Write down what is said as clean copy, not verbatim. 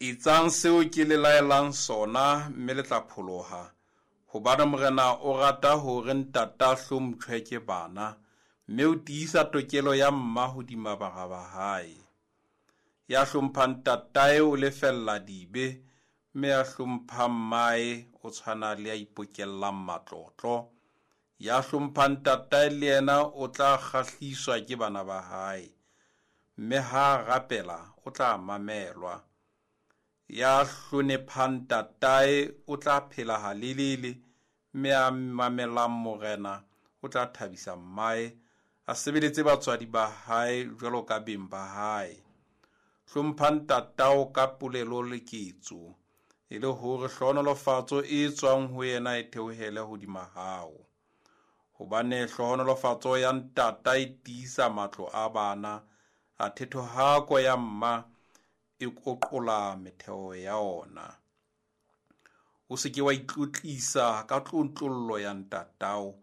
Etsang seo ke le laelang sona, mme le tla pholoha, hobane Morena o rata hore ntata a hlomptjhwe ke bana, mme o tiisa tokelo ya mma hodima bara ba hae. Ya hlomphang ntatae o lefella dibe, mme ya hlomphang mmae o tshwana le ya ipokellang matlotlo. Ya hlomphang ntatae le yena o tla kgahliswa ke bana ba hae, mme ha a rapela o tla mamelwa. Ya hlonephang ntatae o tla phela halelele, mme ya mamelang Morena o tla thabisa mmae, a sebeletse batswadi ba hae jwalo ka beng ba hae. Hlompha ntatao ka polelo le ketso, e le hore hlohonolofatso e tswang ho yena e theohele hodima hao. Hobane hlohonolofatso ya ntata e tiisa matlo a bana, athe thohako ya mma e koqola metheo ya ona. O se ke wa itlotlisa ka tlontlollo ya ntatao,